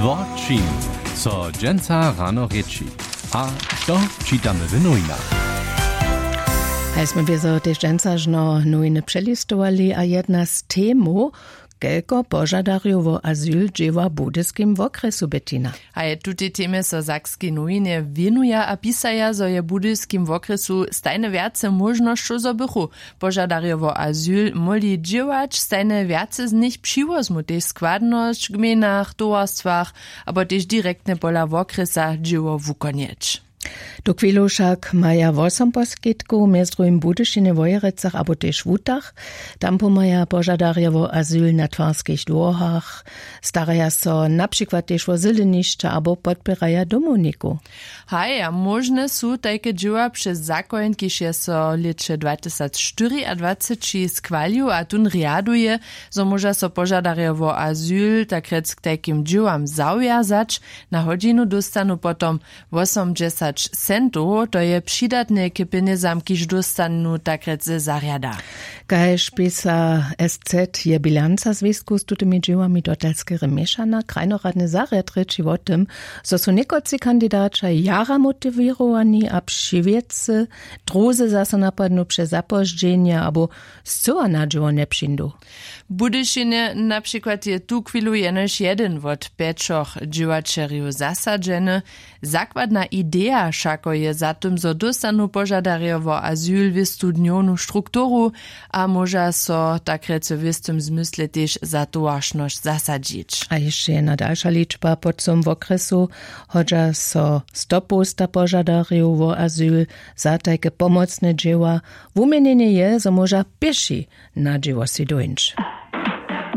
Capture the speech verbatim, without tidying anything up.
Wo čim so dźensa rano rěči a što čitamy w nowinach? Haj smy wězo tež dźensa žno nowiny přelistowali a jedna z temow, kelko požadarjow wo azyl dźěła w budyskim wokrjesu, Bettina? A je tutej temje so sakskej nowinje wěnuja a pisaja, zo je w budyskim wokrjesu stajnje wjace móžnosćow, zo bychu požadarjow wo azyl móhli dźěłać, stajnje wjace z nich přiwozmu tež składnosć w gmejnach, towarstwach abo tež direktnje pola wokrjesa dźěło wukonjeć. Tuchwilu wšak maja wosom poskitkow mjez druhim w budyšinje, wojerecach abo tež w hutach. Tam pomhaja požadarjo wo azyl na twarskich dłóhach, staraja so na přikład tež wo zylenišća abo podpěraja domownikow. Haj, a móžne su tajke dźěła přez zakoń, kiž je so w lěće dwatysacštyriadwaceći schwalił a tón rjaduje, zo móža so požadarjo wo azyl takrjec k tajkim dźěłam zawjazać. Na hodźinu dóstanu potom wosomdźesać centow, to je přidatne k pjenjezam, kiž dóstanu takrjec ze zarjada. Kaž pisa SZ, je bilanca zwěstkow z tutymi dźěłami dotal skerje měšana. Krajnoradny zarjad rěči wo tym, zo su někotři kandidaća jara motiwěrowani a při wěcy, druzy zaso napadnu přez zapozdźenje abo scyła na dźěło njepřińdu. W budyšinje na přikład je tuchwilu jenož jedyn wot pjećoch dźěłaćerjow zasadźeny. Zakładna ideja wšako je za tym, zo dóstanu požadarjo wo azyl wěstu dnjownu strukturu a móža so takrjec w wěstym zmysle tež za towaršnosć zasadźić. A hišće jedna dalša ličba: po całym wokrjesu hodźa so stopołsta požadarjow wo azyl za tajke pomocne dźěła. Wuměnjenje je, zo móža pěši na dźěło sej dóńć.